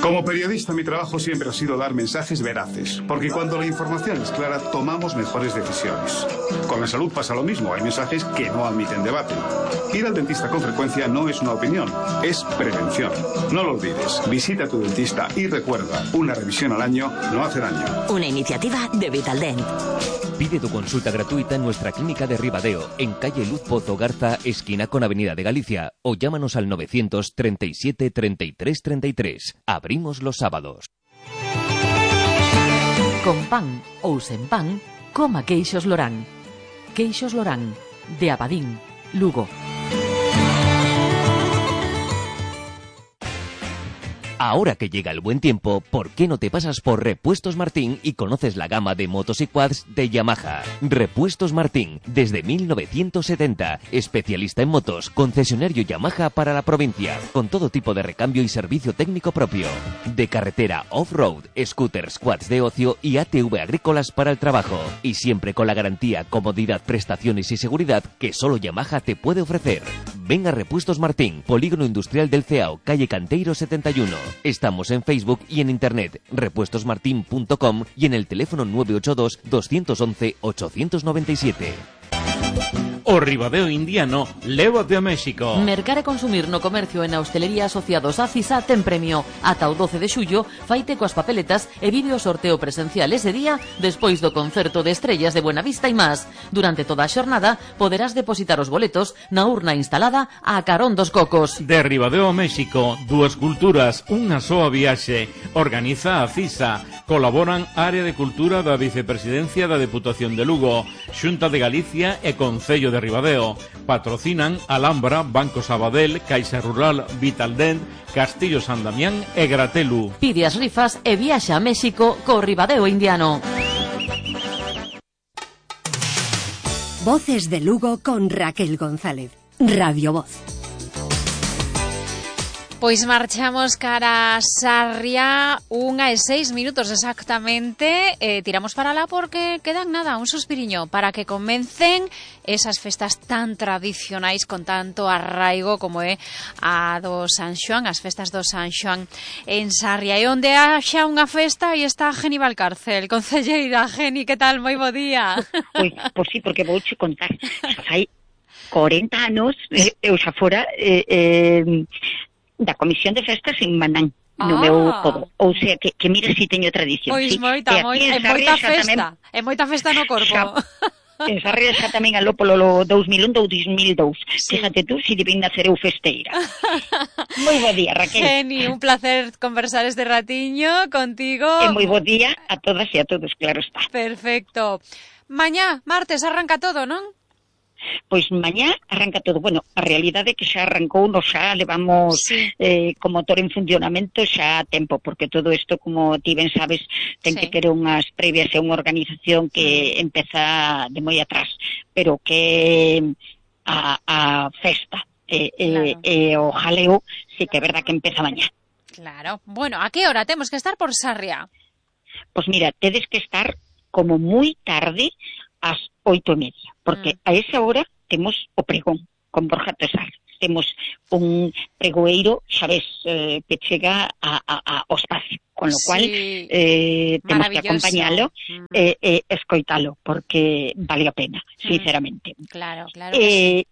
Como periodista, mi trabajo siempre ha sido dar mensajes veraces, porque cuando la información es clara, tomamos mejores decisiones. Con la salud pasa lo mismo, hay mensajes que no admiten debate. Ir al dentista con frecuencia no es una opinión, es prevención. No lo olvides, visita a tu dentista y recuerda, una revisión al año no hace daño. Una iniciativa de Vitaldent. Pide tu consulta gratuita en nuestra clínica de Ribadeo, en calle Luz Pozo Garza, esquina con Avenida de Galicia, o llámanos al 937 33 33. Abrimos los sábados. Con pan ou sen pan, coma queixos Lorán. Queixos Lorán, de Abadín, Lugo. Ahora que llega el buen tiempo, ¿por qué no te pasas por Repuestos Martín y conoces la gama de motos y quads de Yamaha? Repuestos Martín, desde 1970, especialista en motos, concesionario Yamaha para la provincia, con todo tipo de recambio y servicio técnico propio. De carretera off-road, scooters, quads de ocio y ATV agrícolas para el trabajo. Y siempre con la garantía, comodidad, prestaciones y seguridad que solo Yamaha te puede ofrecer. Ven a Repuestos Martín, Polígono Industrial del Ceao, calle Canteiro 71. Estamos en Facebook y en internet, repuestosmartin.com y en el teléfono 982 211 897. O Ribadeo indiano, lévate a México. Mercar e consumir no comercio e na hostelería asociados a CISA ten premio. Ata o 12 de xullo, faite coas papeletas e vídeo sorteo presencial ese día despois do concerto de estrellas de Buenavista e más. Durante toda a xornada poderás depositar os boletos na urna instalada a carón dos cocos. De Ribadeo a México, dúas culturas, unha soa viaxe. Organiza a CISA. Colaboran Área de Cultura da Vicepresidencia da Deputación de Lugo, Xunta de Galicia e Concello de Ribadeo. Patrocinan Alhambra, Banco Sabadell, Caixa Rural, Vitaldent, Castillo San Damián e Gratelu. Pide as rifas e viaxa a México co Ribadeo indiano. Voces de Lugo con Raquel González. Radio Voz. Pois marchamos cara a Sarria, 1:06 exactamente. Tiramos para lá porque quedan nada, un suspiriño para que comecen esas festas tan tradicionais con tanto arraigo como é a do San Xoán, as festas do San Xoán en Sarria. E onde haxa unha festa e está Geni Valcárcel, concelleira. Geni, que tal? Moi bo día. Pois sí, porque vouche contar. Fai 40 anos eu xa fora da Comisión de Festas en Manán, no meu podo. Ou sea, que mira si teño tradición. Pois sí. moita festa. É moita festa no corpo. En Sarria xa tamén aló polo 2001-2002. Sí. Fíjate tú, si debín nacer eu festeira. Moi bo día, Raquel. Geni, un placer conversar este ratiño contigo. E moi bo día a todas e a todos, claro está. Perfecto. Mañá, martes, arranca todo, non? Pois mañá arranca todo. Bueno, a realidade é que xa arrancou, nos xa levamos co motor en funcionamento xa a tempo, porque todo isto, como ti ben sabes, ten que ter unhas previas e unha organización que empeza de moi atrás, pero que a festa e o jaleo sí que é verdad que empeza mañá. Claro. Bueno, a que hora temos que estar por Sarria? Pois mira, tedes que estar como moi tarde, ás 8:30, porque a esa hora temos o pregón con Borja Tesar. Temos un pregoeiro, sabes, que chega ao espacio, con lo cual temos que acompañalo e escoitalo, porque vale a pena, sinceramente. Claro. E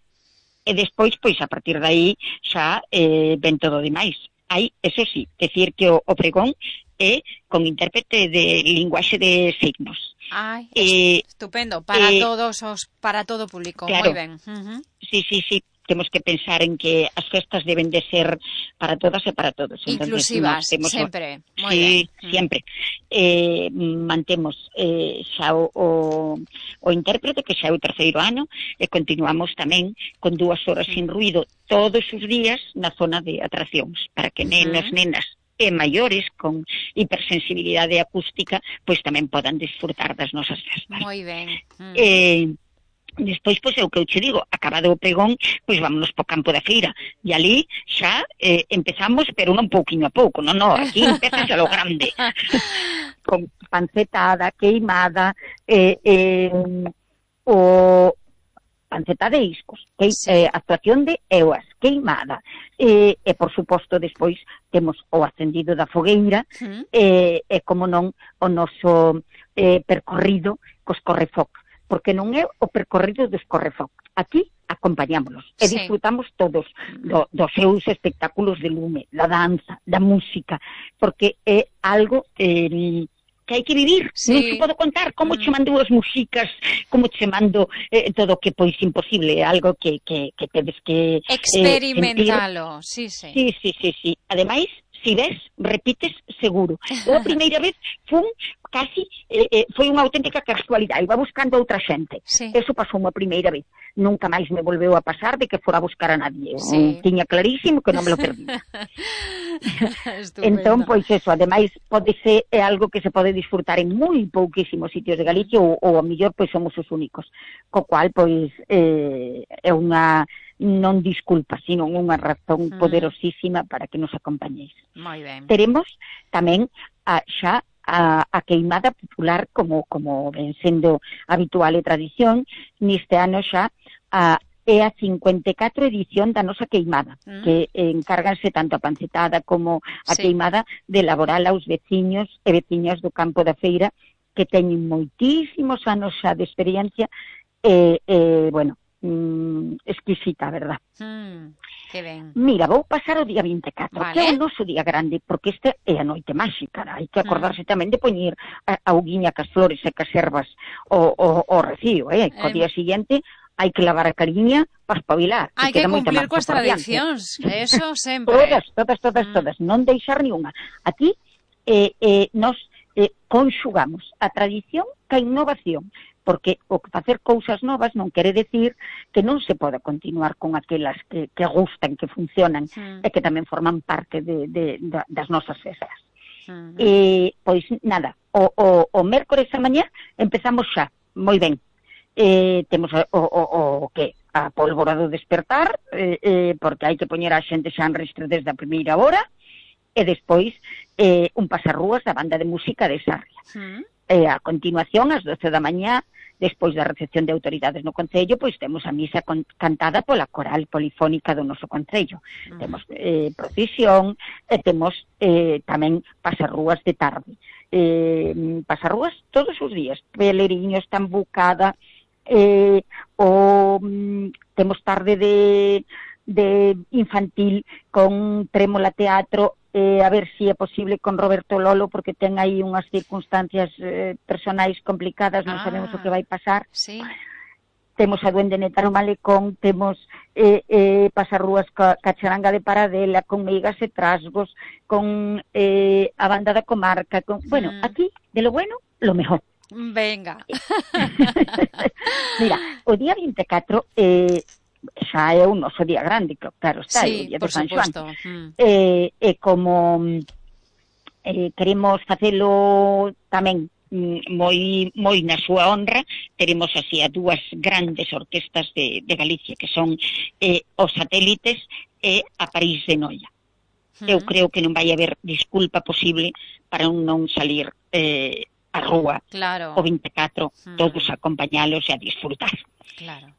despois, pois, a partir de aí, xa ven todo demais. Hai, eso sí, decir que o pregón é con intérprete de linguaxe de signos. Ai, estupendo, para todo o público, claro. Moi ben. Sí, temos que pensar en que as festas deben de ser para todas e para todos. Inclusivas, sempre. Sí, sempre. Mantemos xa o intérprete, que xa é o terceiro ano, e continuamos tamén con 2 horas sin ruido todos os días na zona de atraccións, para que nenos, nenas e maiores con hipersensibilidade acústica pois tamén podan disfrutar das nosas festas. Moi ben. Despois, pois, é o que eu che digo, acabado o pregón, pois vámonos po campo da feira, e ali xa empezamos, pero non pouquiño a pouco, non, aquí empezas a lo grande, con pancetada, queimada, panceta de iscos, actuación de eoas, queimada, e por suposto despois temos o acendido da fogueira, e como non o noso percorrido cos correfoc, porque non é o percorrido dos correfoc. Aquí acompañámonos e disfrutamos todos dos seus espectáculos de lume, da danza, da música, porque é algo que hai que vivir, non se pode contar como che mando as músicas, como che mando todo o que pois imposible, é algo que tedes que experimentalo, sí. Ademais, si ves, repites seguro. Eu a primeira vez foi unha auténtica casualidade, iba buscando a outra xente. Eso pasou unha primeira vez. Nunca máis me volveu a pasar de que fora a buscar a nadie. Tiña clarísimo que non me lo perdía. Entón, pois eso, ademais, é algo que se pode disfrutar en moi pouquísimos sitios de Galicia ou a mellor, pois, somos os únicos. Co cual, pois, é unha non disculpa, sino unha razón poderosísima para que nos acompañéis. Moi ben. Teremos tamén xa a queimada popular como ven sendo habitual e tradición, neste ano xa é a 54 edición da nosa queimada, que encárganse tanto a pancetada como a queimada de elaborala aos veciños e veciñas do campo da feira, que teñen moitísimos anos xa de experiencia bueno, exquisita, verdad? Que ben. Mira, vou pasar o día 24, que é o noso día grande, porque este é a noite máxica, hai que acordarse tamén de poñer a auguiña cas flores e cas ervas o recibo, co día siguiente hai que lavar a cariña para espabilar. Hai que cumplir coas tradicións, eso sempre. Todas, non deixar ni unha. Aquí nos conxugamos a tradición ca innovación, porque o facer cousas novas non quere decir que non se poda continuar con aquelas que gustan, que funcionan, e que tamén forman parte das nosas festas. Pois nada, o mércores a mañá empezamos xa, moi ben. Temos a pólvora do despertar, porque hai que poñer a xente xa en ristre desde a primeira hora, e despois un pasarrúas da banda de música de Sarria. A continuación, ás 12 da mañá, despois da recepción de autoridades no Concello, pois temos a misa cantada pola coral polifónica do noso Concello. Temos procesión e temos tamén pasarrúas de tarde. Pasarrúas todos os días, peleriños, tambucada, temos tarde de infantil con trémola teatro, a ver se é posible con Roberto Lolo, porque ten aí unhas circunstancias personais complicadas, non sabemos o que vai pasar. Temos a Duende Neta no Malecón, temos pasarrúas ca charanga de Paradela, con meigas e trasgos, con a banda da comarca, bueno, aquí, de lo bueno, lo mejor. Venga. Mira, o día 24 xa é o noso día grande, claro está, o día de San Xoán. E como queremos facelo tamén moi na súa honra, teremos así a dúas grandes orquestas de Galicia, que son os Satélites e a París de Noia. Eu creo que non vai haber disculpa posible para non salir a rúa o 24, todos a acompañalos e a disfrutar. Claro.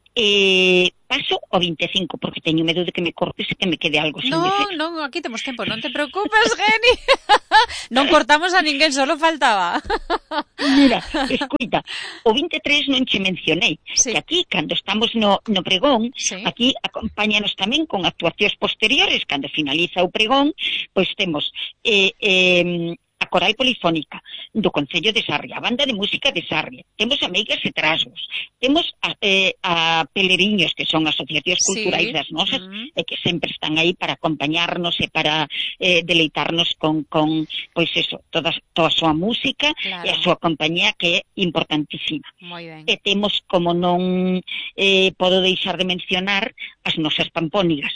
Paso o 25, porque teño medo de que me cortes e que me quede algo sin decir. Non, aquí temos tempo, non te preocupes, Geni. Non cortamos a ninguén, solo faltaba. Mira, escuita, o 23 non che mencionei, que aquí, cando estamos no pregón, aquí acompáñanos tamén con actuacións posteriores, cando finaliza o pregón, pois temos a coral polifónica do Concello de Sarria, a banda de música de Sarria, temos a meigas e trasgos, temos a peleriños, que son asociacións culturais das nosas, e que sempre están aí para acompañarnos e para deleitarnos con pois eso, toda a súa música e a súa compañía, que é importantísima. E temos, como non podo deixar de mencionar, as nosas pampónigas.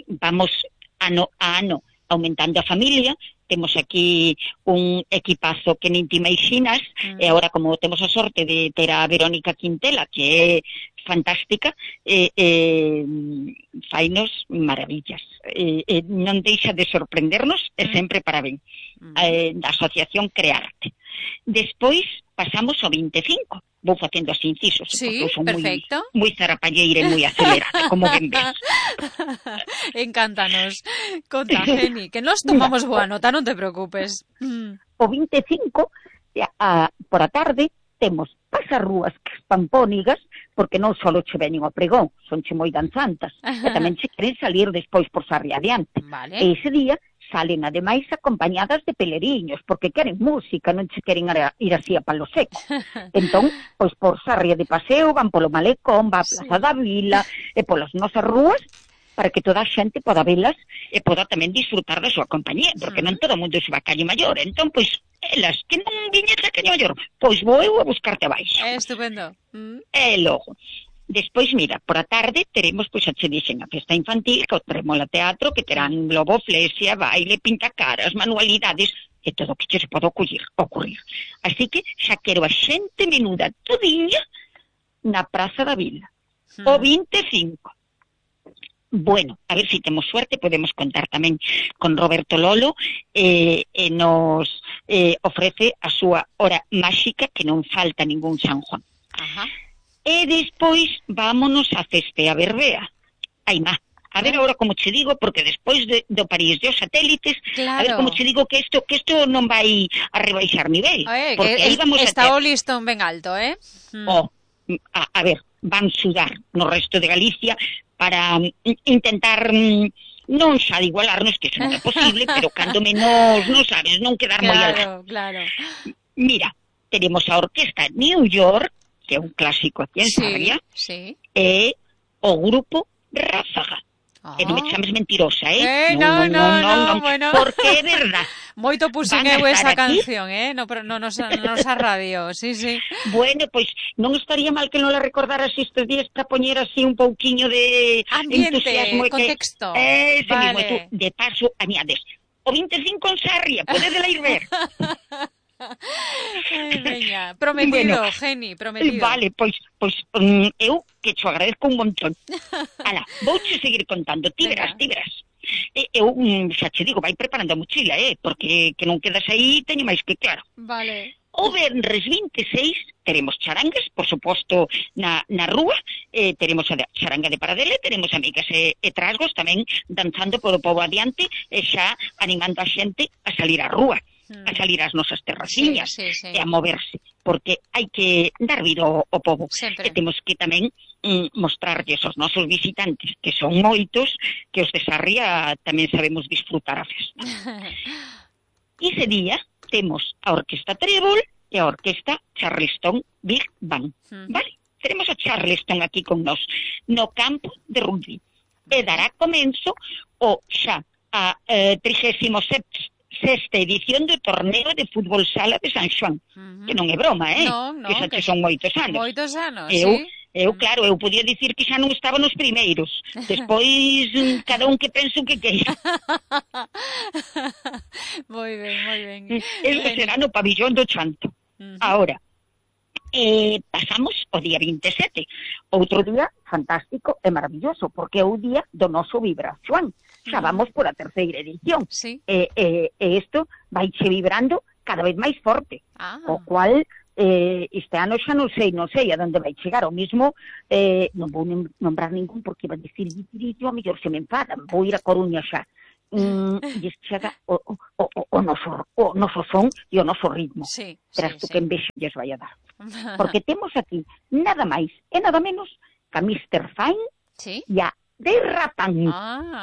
Vamos ano a ano aumentando a familia. Temos aquí un equipazo que nin te imaginas, e agora, como temos a sorte de ter a Verónica Quintela, que é fantástica, fainos maravillas. Non deixa de sorprendernos, e sempre para ben. Da Asociación Crearte. Despois pasamos ao 25, vou facendo así incisos, Sí, porque eu son perfecto. moi zarapalleira e moi acelerada, como ben ves. Encántanos. Conta, Geni, que nos tomamos boa nota, non te preocupes. O 25, por a tarde, temos pasarrúas pampónigas, porque non só che veñen ao pregón, son che moi danzantas, e tamén che queren salir despois por Sarria adiante. Vale. E ese día salen ademais acompañadas de peleriños, porque queren música, non che queren ir así a palo seco. Entón, pois por Sarria de paseo, van polo Malecón, va a Plaza da Vila, e polas nosas rúas, para que toda a xente poda velas e poda tamén disfrutar da súa compañía, porque non todo o mundo se va a Calle Maior. Entón, pois, elas que non viñes a Calle Maior, pois vou eu a buscarte abaixo. Estupendo. E logo, despois, mira, por a tarde teremos, pois, a che dixen, a festa infantil, que o Tremola Teatro, que terán globo, flesia, baile, pintacaras, manualidades, e todo o que che se pode ocurrir. Así que xa quero a xente menuda todiña na Praza da Vila. O 25. Bueno, a ver se temos suerte, podemos contar tamén con Roberto Lolo, e nos ofrece a súa hora máxica, que non falta ningún San Juan. Ajá. E despois vámonos a Cestea Berbea. Ai, má, a ver agora como che digo, porque despois do París de os satélites, claro. a ver como che digo que isto non vai a rebaixar nivel. Porque aí vamos está a ter... o listón ben alto, a ver, van sudar no resto de Galicia para intentar non xa de igualarnos, que iso non é posible, pero cando menos, non sabes, non quedar moi alto. Claro. Mira, tenemos a Orquesta New York, que é un clásico aquí en Sarria, e o grupo Ráfaga. E non me chames mentirosa, Non, bueno. Porque é verdad. Moito puxen eu esa canción, no nosa radio, sí. Bueno, pois non estaría mal que non la recordaras estes días para poñer así un pouquiño de ambiente, entusiasmo. contexto. Ese vale. mismo, tú, de paso, añades o 25 en Sarria, podedela ir ver. Veña, prometido, bueno, Geni, prometido. Vale, pois eu que te agradezco un montón. Ala, vouche seguir contando, ti verás. Eu xa che digo, vai preparando a mochila, porque que non quedas aí teño máis que claro. Vale. O venres 26 teremos charangas, por suposto, na rúa, teremos a charanga de Paradela, teremos amigas e trasgos tamén danzando polo pobo adiante, e xa animando a xente a salir á rúa. A salir ás nosas terraciñas e a moverse, porque hai que dar vida ao pobo. Sempre. E temos que tamén mostrarlles aos nosos visitantes, que son moitos, que os de Sarria tamén sabemos disfrutar a festa. Ese día temos a Orquesta Trébol e a Orquesta Charleston Big Band. Vale? Teremos a Charleston aquí con nós, no campo de rugby. E dará comenzo o xa a 36ª edición do torneo de fútbol sala de San Xoán, que non é broma, No, que xa que son moitos anos. Moitos anos, Eu, claro, eu podía dicir que xa non estaba nos primeiros. Despois, cada un que pense o que queira. Moi ben. Eso será no pabillón do Chanto. Ahora, pasamos o día 27. Outro día fantástico e maravilloso, porque é o día do noso Vibra Xoán. Xa vamos por a terceira edición. Sí. E isto vaiche vibrando cada vez máis forte. O cual, este ano xa non sei a onde vai chegar. O mismo, non vou nombrar ningún porque iba a dicir, a mellor se me enfadan, vou ir a Coruña xa. E chega o noso son e o noso ritmo. Verás tú que envexa lles vai a dar. Porque temos aquí nada máis e nada menos que a Mr. Fine e a Derrapán.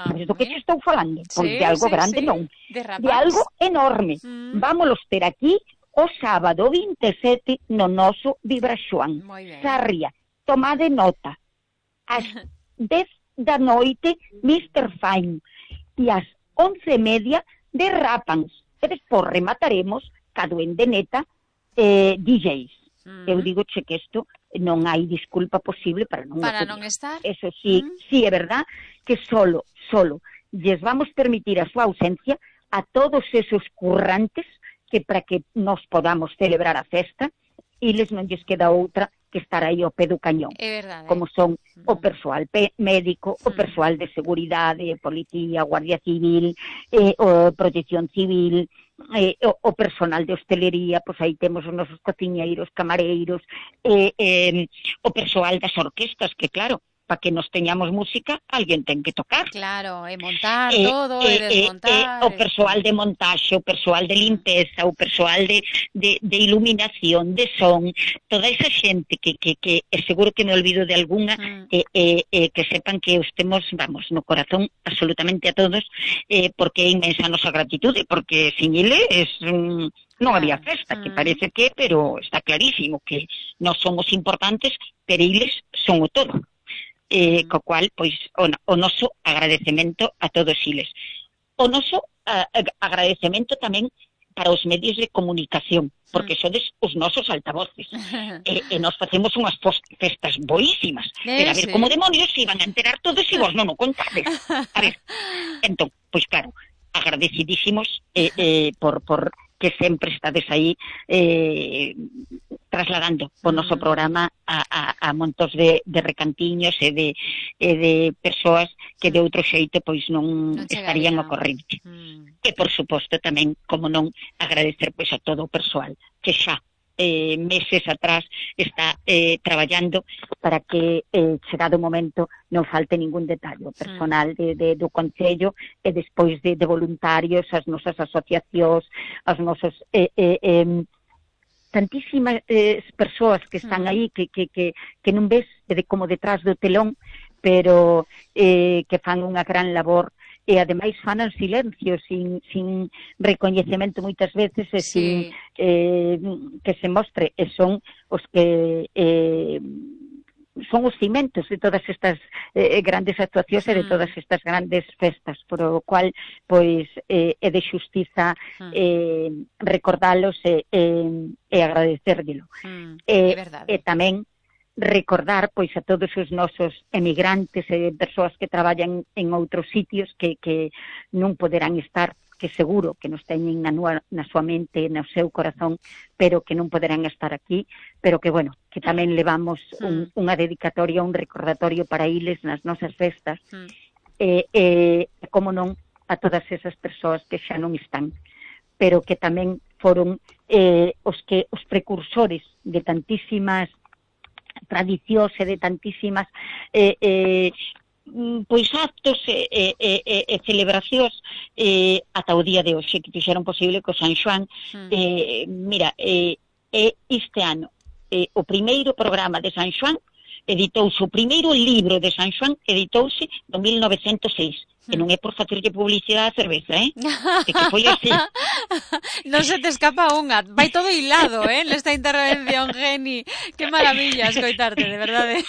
Sabes do que te estou falando? Pois de algo grande non. De algo enorme. Vámonos ter aquí o sábado 27 no noso Vibra Xoán. Sarria, tomade nota. Ás 10 da noite, Mr. Fine. E ás 11:30 Derrapans. E despois remataremos ca Duende Neta DJs. Eu digo che que isto non hai disculpa posible para non estar. Eso sí, sí é verdad que solo lles vamos permitir a súa ausencia a todos esos currantes que para que nos podamos celebrar a festa, eles non lles queda outra que estar aí ao pé do cañón. É verdade. Como son o persoal médico, o persoal de seguridade, policía, guardia civil, o protección civil, o personal de hostelería, pois aí temos os nosos cociñeiros, camareiros, o persoal das orquestas, que claro, para que nos teñamos música, alguén ten que tocar. Claro, montar todo, desmontar. O persoal de montaxe, o persoal de limpeza, o persoal de iluminación, de son, toda esa xente que seguro que me olvido de alguna, que sepan que os temos, vamos, no corazón absolutamente a todos, porque é inmensa a nosa gratitude, porque sin eles non había festa, que parece que, pero está clarísimo que non somos importantes, pero eles son o todo. Co cual, pois, o noso agradecemento a todos eles. O noso agradecemento tamén para os medios de comunicación, porque sodes os nosos altavoces. E nós facemos unhas festas boísimas. Pero a ver, como demonios se iban a enterar todos e vos non o contades. A ver, entón, pois claro, agradecidísimos por que sempre estades aí trasladando o noso programa a montos de recantiños e de persoas que de outro xeito pois non estarían ao corrente. E por suposto tamén, como non, agradecer pois a todo o persoal que xa meses atrás está traballando para que chegado o momento non falte ningún detalle. O personal do Concello e despois de voluntarios, as nosas asociacións, as nosas tantísimas persoas que están aí que non ves como detrás do telón, pero que fan unha gran labor e ademais fan en silencio, sin recoñecemento moitas veces e sin que se mostre, e son os que son os cimentos de todas estas grandes actuacións e de todas estas grandes festas, por o cual pois é de xustiza recordalos e agradecérguelo. E tamén recordar pois a todos os nosos emigrantes e persoas que traballan en outros sitios que non poderán estar, que seguro que nos teñen na súa mente, no seu corazón, pero que non poderán estar aquí, pero que, bueno, que tamén levamos unha dedicatoria, un recordatorio para eles nas nosas festas, como non, a todas esas persoas que xa non están, pero que tamén foron os precursores de tantísimas tradicións e de tantísimas pois actos e celebracións ata o día de hoxe que fixeron posible que o San Xoán mira, este ano o primeiro programa de San Xoán editouse, o primeiro libro de San Xoán editouse no 1906. Que non é por facerlle publicidade á cerveza, que foi así. Non se te escapa unha, vai todo hilado, nesta intervención, Geni. Que maravilla escoitarte, de verdade.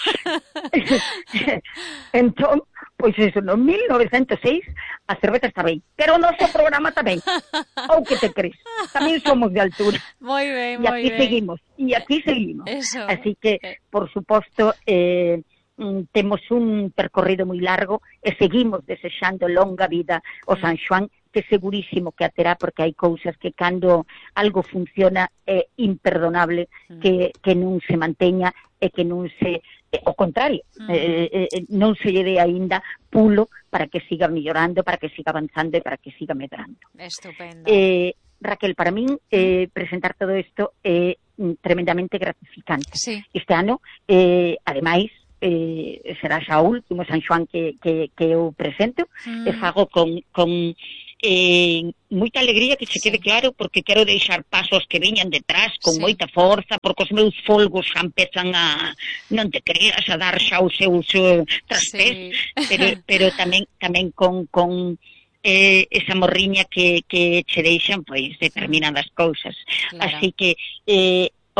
Entón, pois eso, no 1906 a cerveza está ben, pero o noso programa tamén. Ou que te crees, tamén somos de altura. Moi ben, moi ben. E aquí seguimos. Eso. Así que, por suposto, temos un percorrido moi largo e seguimos desexando longa vida ao San Xoán, que segurísimo que a terá, porque hai cousas que cando algo funciona é imperdonable que non se manteña e que non se, ao contrario, non se lle dé aínda pulo para que siga mellorando, para que siga avanzando e para que siga medrando. Estupendo. Raquel, para min presentar todo isto é tremendamente gratificante. Sí. Este ano, ademais, será xa o último San Xoán que eu presento, e fago con moita alegría, que se quede claro, porque quero deixar pasos que veñan detrás con moita forza, porque os meus folgos xa empezan a, non te creas, a dar xa os seus trastés, pero tamén con esa morriña que che deixan pois determinadas cousas. Así que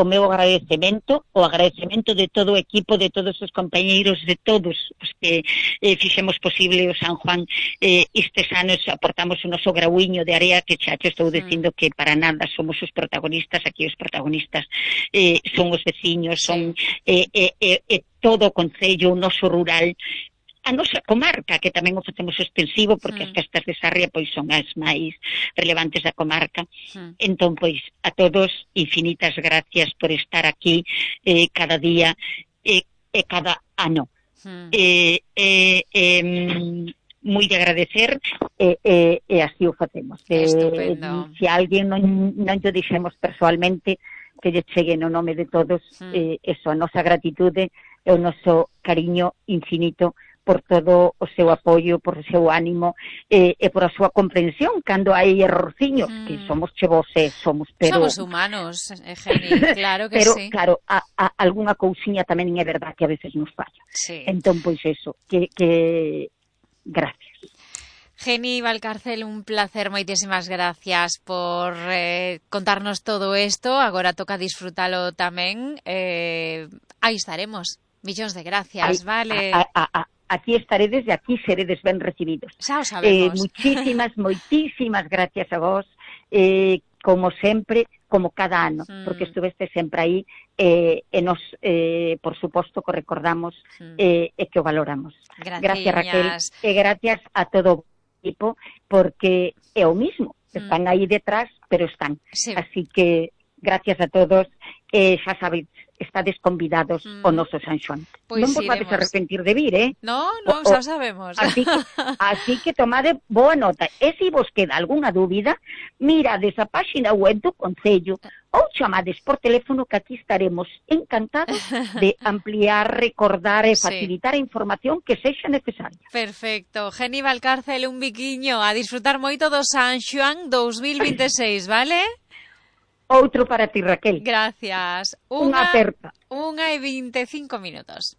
o meu agradecemento, o agradecemento de todo o equipo, de todos os compañeiros, de todos os que fixemos posible o San Xoán. Estes anos aportamos o noso grauiño de area, que xa te estou dicindo que para nada somos os protagonistas, aquí os protagonistas son os veciños, son todo o concello, o noso rural, a nosa comarca, que tamén o facemos extensivo, porque as festas de Sarria pois son as máis relevantes da comarca. Entón, pois, a todos, infinitas gracias por estar aquí cada día e cada ano. moi de agradecer e así o facemos. Estupendo. Se alguén non lle dixemos persoalmente, que lle chegue no nome de todos eso, a nosa gratitude e o noso cariño infinito por todo o seu apoio, por o seu ánimo e por a súa comprensión cando hai errorciños, que somos chevos pero... Somos humanos, Geni, claro que pero, sí. claro, algunha cousiña tamén é verdad que a veces nos falla. Sí. Entón, pois eso, que gracias. Geni Valcárcel, un placer, moitísimas gracias por contarnos todo isto. Agora toca disfrutalo tamén. Aí estaremos. Millóns de gracias, vale? Aquí estaredes e aquí seredes ben recibidos. Xa o sabemos. Moitísimas gracias a vos, como sempre, como cada ano, porque estuveste sempre aí e nos, por suposto, que o recordamos e que o valoramos. Gracias, Raquel, e gracias a todo o equipo, porque é o mismo, están aí detrás, pero están. Sí. Así que, gracias a todos, xa sabedes, estades convidados ao noso San Xoán. Pois non vos vades iremos. a arrepentir de vir, No, xa sabemos. Así que tomade boa nota. E se vos queda algunha dúbida, mirades a páxina web do Concello ou chamades por teléfono, que aquí estaremos encantados de ampliar, recordar e facilitar a información que sexa necesaria. Perfecto. Geni Valcárcel, un biquiño. A disfrutar moito do San Xoán 2026, vale? Outro para ti, Raquel. Gracias. Unha aperta. 1:25 minutos.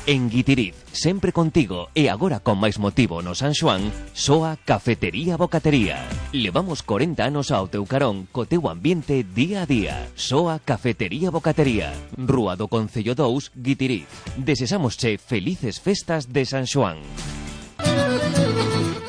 En Guitiriz, sempre contigo e agora con máis motivo no San Xoán, soa Cafetería Bocatería. Levamos 40 anos ao teu carón co teu ambiente día a día. Soa Cafetería Bocatería, Rúa do Concello 2, Guitiriz. Desesámosche felices festas de San Xoán.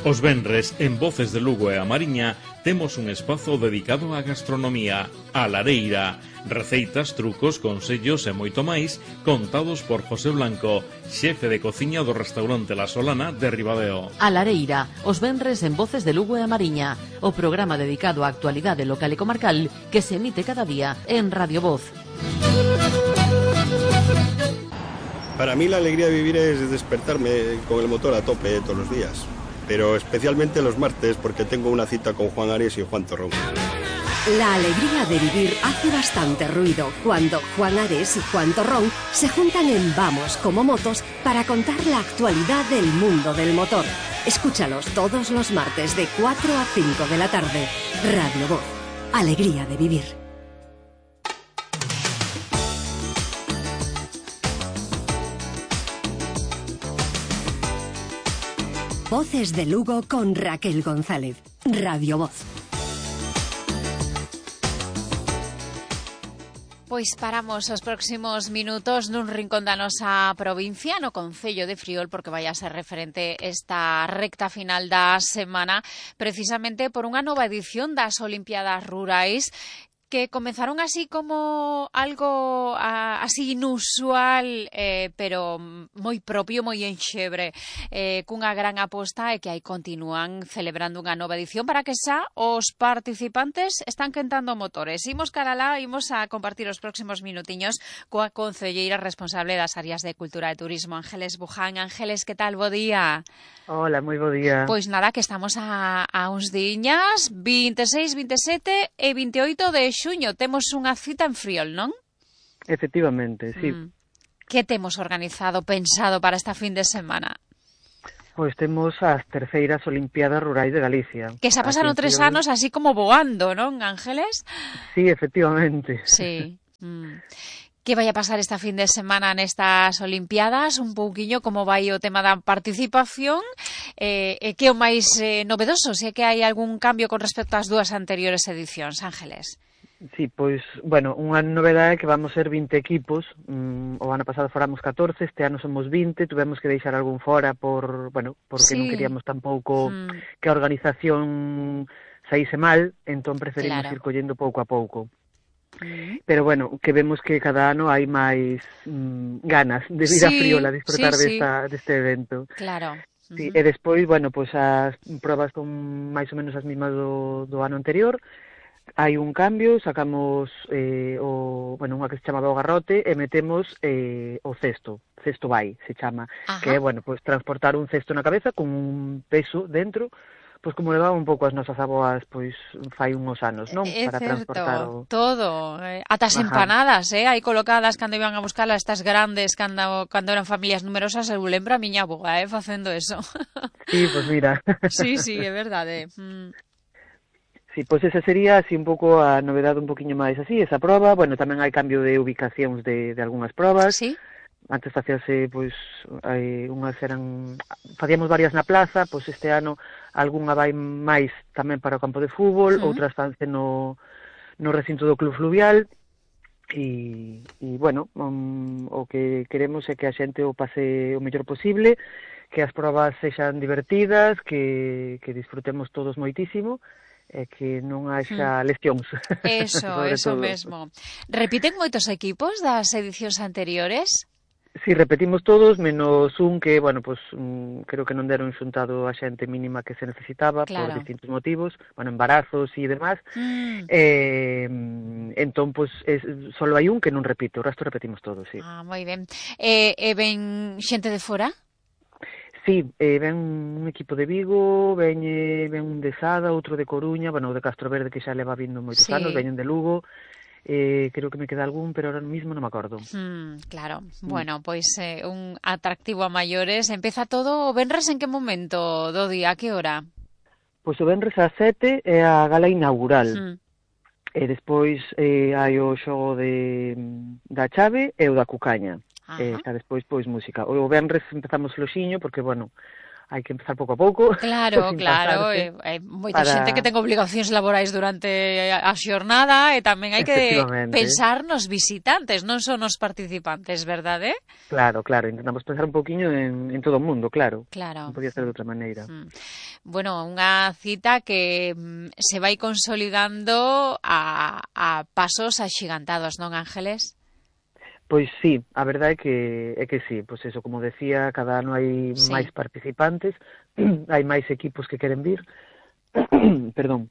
Os venres, en Voces de Lugo e a Mariña, temos un espazo dedicado á gastronomía, a lareira, receitas, trucos, consellos e moito máis, contados por José Blanco, xefe de cociña do restaurante La Solana de Ribadeo. A Lareira, os venres en Voces de Lugo e a Mariña, o programa dedicado á actualidade local e comarcal que se emite cada día en Radio Voz. Para mí la alegría de vivir es despertarme con el motor a tope todos los días, pero especialmente los martes porque tengo una cita con Juan Ares y Juan Torrón. La alegría de vivir hace bastante ruido cuando Juan Ares y Juan Torrón se juntan en Vamos como Motos para contar la actualidad del mundo del motor. Escúchalos todos los martes de 4 a 5 de la tarde. Radio Voz. Alegría de vivir. Voces de Lugo con Raquel González. Radio Voz. Pois paramos os próximos minutos nun rincón da nosa provincia, no Concello de Friol, porque vai a ser referente esta recta final da semana, precisamente por unha nova edición das Olimpiadas Rurais, que comenzaron así como algo así inusual, pero moi propio, moi enxebre, cunha gran aposta e que aí continúan celebrando unha nova edición para que xa os participantes están quentando motores. Imos cara lá, imos a compartir os próximos minutiños coa concelleira responsable das áreas de Cultura e Turismo, Ángeles Buján. Ángeles, que tal? Bo día. Hola, moi bo día. Pois nada, que estamos a uns diñas, 26, 27 e 28 de xuño. Temos unha cita en Friol, non? Efectivamente, sí. Que temos organizado, pensado para esta fin de semana? Pois temos as terceiras Olimpiadas Rurais de Galicia. Que xa pasaron 3 anos así como voando, non, Ángeles? Sí, efectivamente. Sí. Que vai a pasar esta fin de semana nestas Olimpiadas? Un pouquiño como vai o tema da participación, e que o máis novedoso, se que hai algún cambio con respecto ás dúas anteriores edicións, Ángeles? Sí, pois, bueno, unha novedade é que vamos ser 20 equipos. O ano pasado foramos 14, este ano somos 20, tuvemos que deixar algún fora porque non queríamos tampouco que a organización saíse mal, entón preferimos ir collendo pouco a pouco. Pero bueno, que vemos que cada ano hai máis ganas de vir a Friol a disfrutar deste evento. Claro. Sí, e despois, bueno, pois as probas son máis ou menos as mismas do ano anterior. hai un cambio, sacamos unha que se chamaba o garrote e metemos o cesto vai, se chama, que é, pois transportar un cesto na cabeza con un peso dentro, pois como levaban un pouco as nosas aboas pois fai uns anos, non? Para certo, transportar todo, ata as empanadas, aí colocadas cando iban a buscar estas grandes cando eran familias numerosas, eu lembro a miña aboa, facendo eso. Sí, pois mira. Sí, é verdade. Sí, pois esa sería así un pouco a novedade un poquinho máis así, esa proba. Bueno, tamén hai cambio de ubicacións de algunhas probas. Sí. Antes facíase, pois, unhas facíamos varias na plaza, pois este ano algunha vai máis tamén para o campo de fútbol, outras fanse no recinto do Club Fluvial, e bueno, o que queremos é que a xente o pase o mellor posible, que as probas sexan divertidas, que disfrutemos todos moitísimo, e que non haxa lesións. Eso mesmo. Repiten moitos equipos das edicións anteriores? Si, repetimos todos, menos un que, creo que non deron xuntado a xente mínima que se necesitaba por distintos motivos, embarazos e demás. Entón, solo hai un que non repito, o resto repetimos todos, sí. Moi ben. E ven xente de fora? Sí, ven un equipo de Vigo, ven un de Sada, outro de Coruña, o de Castro Verde que xa leva vindo moitos anos, veñen de Lugo, creo que me queda algún, pero ahora mismo non me acordo. Claro, bueno, pois un atractivo a maiores. Empeza todo o venres en que momento do día, a que hora? Pois o venres ás 7 é a gala inaugural. E despois hai o xogo da chave e o da cucaña. Xa despois, pois, música. O venres empezamos loxiño, porque, hai que empezar pouco a pouco. Claro, hai moita xente que ten obligacións laborais durante a xornada e tamén hai que pensar nos visitantes, non son os participantes, verdade? Claro, intentamos pensar un pouquiño en todo o mundo, claro. Non podía ser de outra maneira. Bueno, unha cita que se vai consolidando a pasos axigantados, non, Ángeles? Pois sí, a verdade é que sí, pois eso, como decía, cada ano hai máis participantes, hai máis equipos que queren vir, perdón,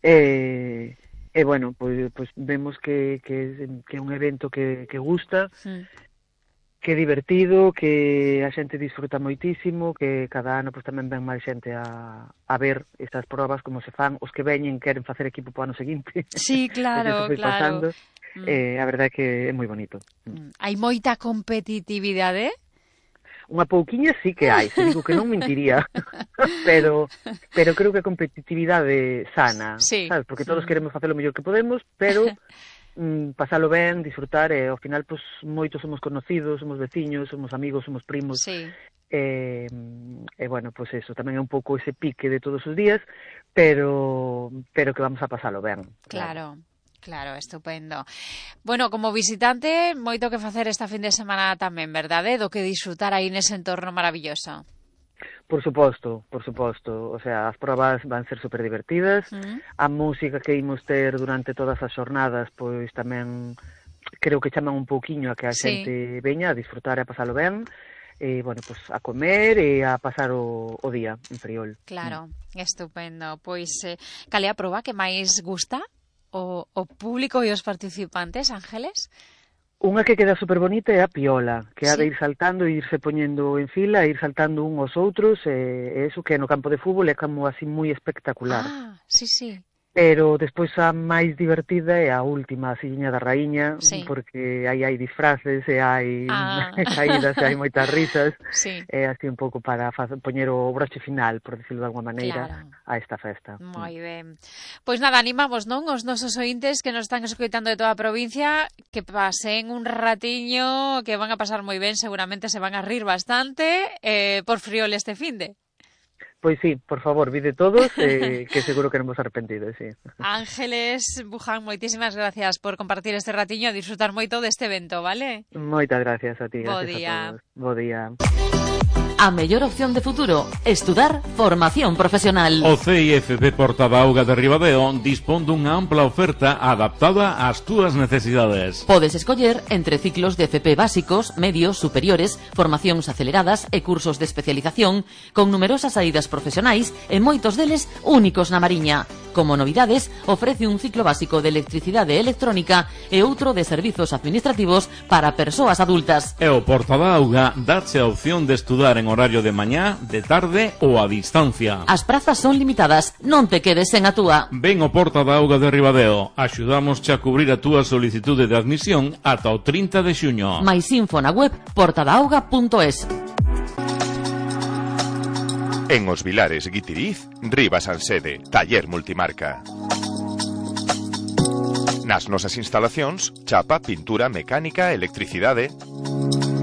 e bueno, pois vemos que é un evento que gusta, que é divertido, que a xente disfruta moitísimo, que cada ano pois tamén ven máis xente a ver estas probas, como se fan, os que veñen queren facer equipo para o ano seguinte. Sí, claro. A verdade é que é moi bonito. Hai moita competitividade? Unha pouquiña sí que hai, se digo que non mentiría, pero creo que a competitividade sana, sabes? Porque todos queremos facer o mellor que podemos, pero pasalo ben, disfrutar, e ao final, pois, moitos somos conocidos, somos veciños, somos amigos, somos primos, e bueno, pois eso, tamén é un pouco ese pique de todos os días, pero que vamos a pasalo ben. Claro, estupendo. Bueno, como visitante, moito que facer esta fin de semana tamén, verdade? Do que disfrutar aí nese entorno maravilloso. Por suposto. O sea, as probas van ser super divertidas. A música que imos ter durante todas as xornadas, pois tamén creo que chaman un pouquiño a que a xente veña a disfrutar e a pasalo ben. Bueno, pois a comer e a pasar o día en Friol. Claro, estupendo. Pois, cal é a proba que máis gusta? O público e os participantes, Ángeles? Unha que queda super bonita é a piola, que ha de ir saltando e irse poñendo en fila, ir saltando un aos outros, e eso que no campo de fútbol é como así moi espectacular. Sí. Pero despois a máis divertida é a última, a Silliña da Raíña, porque aí hai disfraces e hai caídas e hai moitas risas, é así un pouco para poñer o broche final, por decirlo de alguma maneira, a esta festa. Moi ben. Pois nada, animamos, non, os nosos ointes que nos están escoitando de toda a provincia, que pasen un ratiño, que van a pasar moi ben, seguramente se van a rir bastante, por Friol este finde. Pois sí, por favor, vide todos, que seguro que non vos arrepentides, sí. Ángeles Buján, moitísimas gracias por compartir este ratiño e disfrutar moito deste evento, vale? Moitas gracias a ti, Bo gracias día. a todos. Bo día. A mellor opción de futuro, estudar formación profesional. O CIFP Portadauga de Ribadeo dispón dunha ampla oferta adaptada ás túas necesidades. Podes escoller entre ciclos de FP básicos, medios, superiores, formacións aceleradas e cursos de especialización con numerosas saídas profesionais e moitos deles únicos na Mariña. Como novidades, ofrece un ciclo básico de electricidade e electrónica e outro de servizos administrativos para persoas adultas. E o Porta da Auga dáche a opción de estudar en horario de mañá, de tarde ou a distancia. As prazas son limitadas, non te quedes sen a túa. Ven ao Porta da Auga de Ribadeo, axudámosche a cubrir a túa solicitude de admisión ata o 30 de xuño. Mais info na web portadaauga.es. En Os Vilares, Guitiriz, Rivas Ansede, taller multimarca. Nas nosas instalacións, chapa, pintura, mecánica, electricidade.